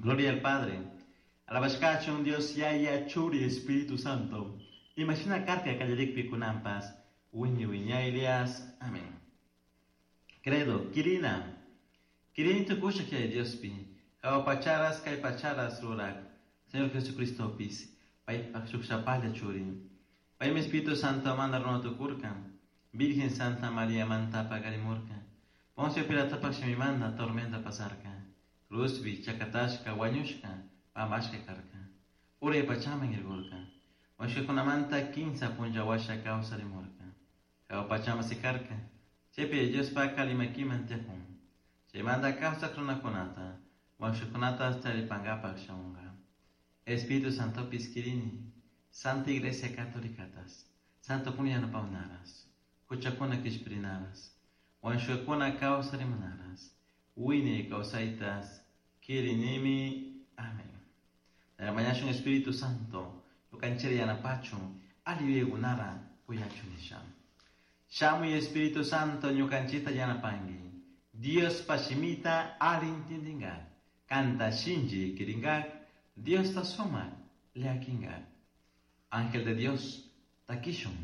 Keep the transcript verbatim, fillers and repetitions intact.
Gloria al Padre. Alabashkachun Dios Yaya Churi Espíritu Santo. Imashina karka kallarikpi kunanpas. Wiñay wiñaylias. Amén. Credo, Kirina. Kirini tukusha Yaya Diospi. Jahua pacharas kay pacharas rurak. Señor Jesucristopis. Paypak shukshapalla churi. Paymi Espíritu Santo manda runa tukurka. Virgen Santa María manta pakarimurka. Poncio Pilatopak shimimanta tormenta pasarka. Cruzpi chakatashka wañushka pampashka karka. Uray pachaman irkurka. Wañushkakunamanta kinsa punlla washa kawsarimurka. Jahua pachaman sikarka. Chaypi Diospak alli makiman tiyakun. Chaymanta kawsak runakunata wañushkakunata taripankapak shamunka. Espíritu Santopis kirini. Santa Iglesia Católicatas. Santo kuna yanapawnaras. Huchakuna kishpirinaras. Wañushkakuna kawsarimunaras. Wiñay kawsaytas kirinimi. Amén. Mañashun Espíritu Santo. Ñukanchikta yanapachun. Ali yuyaykunara kuyachun nisha. Shamuy Espíritu Santo ñukanchikta yanapanki. Diospa shimita ali intindinkak. Kanta shinchi kirinkak. Diosta sumak llakinkak. Ángel de Dios, takishun.